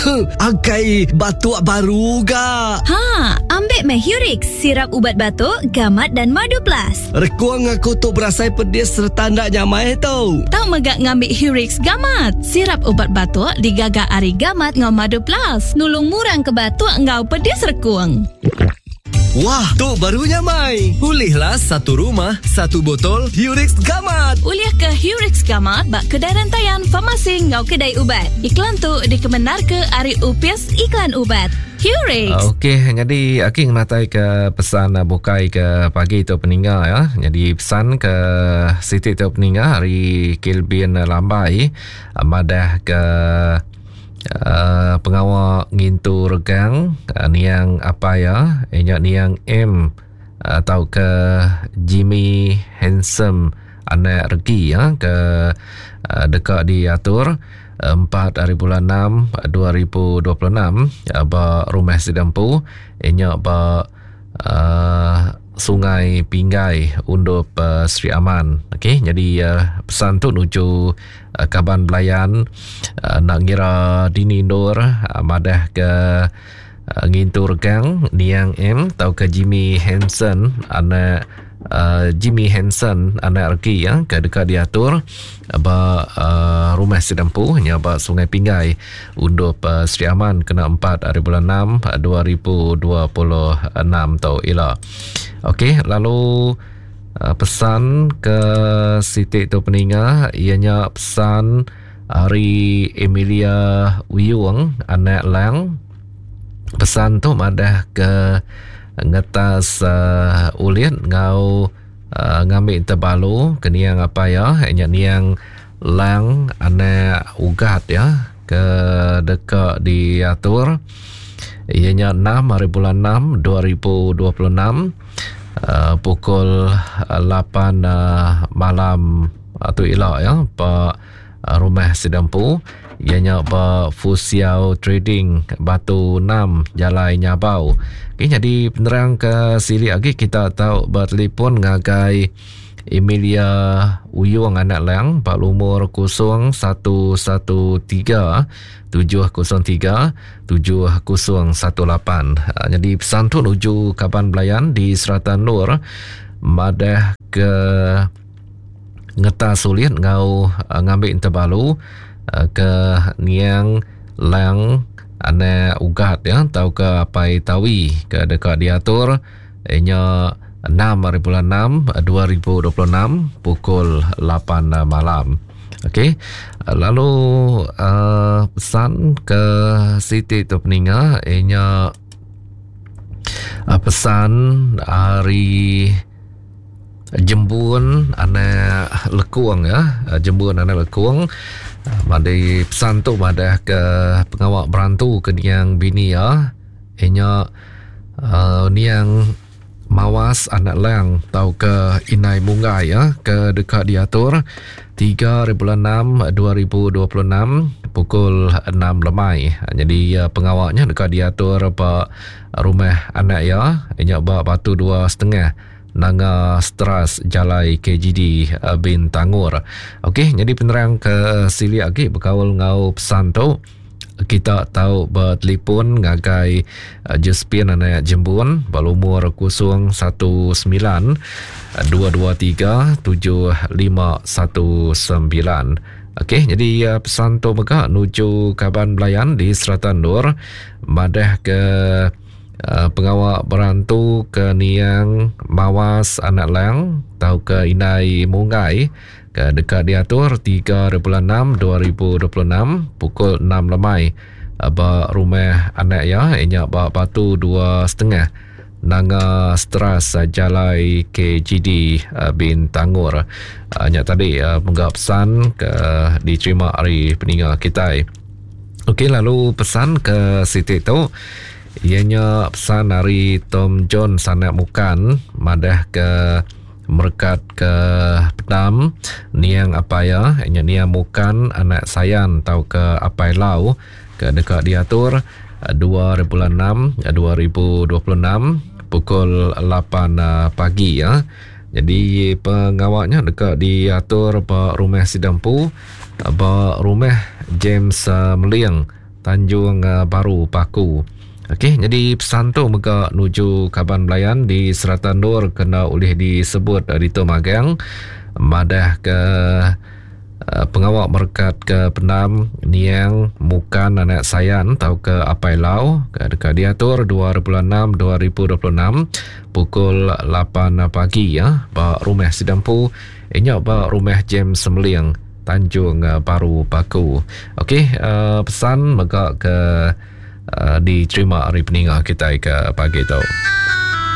Akai batuk baru ga. Ha, ambik meh Hurix, sirap ubat batuk, gamat dan madu plus. Rekung aku tu berasai pedis sereta enda nyamai tu. Tau mega ngambi Hurix Gamat, sirap ubat batuk digaga ari gamat enggau madu plus, nulung murang ke batuk enggau pedis rekung. Wah, tu baru nyamai. Ulihlah satu rumah, satu botol Hurix Gamat. Ulih ke Hurix Gamat ba kedai rentayan, farmasi enggau kedai ubat. Iklan tu dikemendarka ari Opis Iklan Ubat. Hurix. Okey, nyadi aki ngenatai ke pesan bukai ke pagi tu peninga ya. Nyadi pesan ke siti tu peninga ari Kelvin Lambai madah ke Pengawa ngintu regang niang apai iya iya nya niang M tauka Jimmy Handsome anak regi iya ke deka diatur empat hari bulan enam 2026 ba rumah sida empu iya nya ba Sungai Pinggai Undup Sri Aman. Okey nyadi pesan tu nuju kaban belayan enda ngira dini endur madah ke ngintu regang niang M tauka Jimmy Hanson anak Jimmy Hanson anak regi ya ke deka diatur ba rumah sida empu nya ba Sungai Pinggai Undup Sri Aman kena 4 hari bulan 6 2026 tu ila. Okey lalu Pesan ke siti tu peninga iya nya pesan ari Emilia Uyung anak Lang. Pesan tu madah ke ngetas uh, ulit enggau uh, ngambi tebalu ke niang apai iya nya niang Lang anak Ugat ya ke deka diatur iya nya 6 hari bulan 6 2026 uh, pukul 8 uh, malam uh, tu ila ya ba uh, rumah sida empu iya nya ba Fusiao Trading Batu 6 Jalai Nyabau. Okay, jadi penerang ke silik agi kita tau bertelefon ngagai Emilia Uyung anak Lang ba lumur 0113 703 7018. Jadi pesan tu nuju kaban belayan di serata endur madah ke ngetas ulit enggau ngambi entebalu ke niang Lang anak Ugat ya tauka Apai Tawi ke deka diatur Inya 6 hari bulan 6 2026 pukul 8 malam. Okey. Lalu uh, pesan ke Siti tu peninga inya uh, pesan hari Jembun anak Lekung ya. Jembun anak Lekung. Madi pesan tu madah ke pengawa berantu ke niang bini ya. Inya uh, niang Mawas anak Lang tauka Inai Munggai ya ke deka diatur 3 bulan 6 2026 pukul 6 lemai. Jadi uh, pengawanya deka diatur ba rumah anak iya inya ba Batu 2.5 Nanga Stras Jalai KGD uh, Bintangor. Okey, jadi penerang ke silik agi bekaul enggau pesan tu. Kita tau betelipon ngagai Josephine anak Jembun ba lumur 019 223 7519. Okey, jadi pesan tu mega nuju kaban belayan di serata endur madah ke pengawa berantu ke niang Mawas anak Lang tauka Indai Munggai ke deka diatur 3 bulan 6 2026 pukul 6 lemai ba rumah anak iya iya nya ba Batu 2.5 Nanga Stras Jalai KGD Bintangor. Nya tadi mega pesan ke diterima ari peninga kitai. Okey lalu pesan ke siti tu iya nya pesan ari Tom John Sanak Mukan madah ke Merekat ke pendam niang apai iya nya niang Mukan anak Sayan tauka Apai Lau ke deka diatur dua hari bulan enam 2026 pukul lapan pagi ya. Jadi pengawa nya deka diatur ba rumah sida empu ba rumah James Meling. Tanjung Baru Paku. Okey, nyadi pesan tu mega nuju kaban belayan di serata endur ke enda ulih disebut ditu magang madah ke pengawa merekat ke pendam niang Mukan anak Sayan tauka Apai Lau ke deka diatur dua ribu enam 2026 pukul lapan pagi ya ba rumah sida empu inya ba rumah James Semeling Tanjung Baru Paku. Okey, pesan mega ke diterima ari peninga kitai ke pagi tu.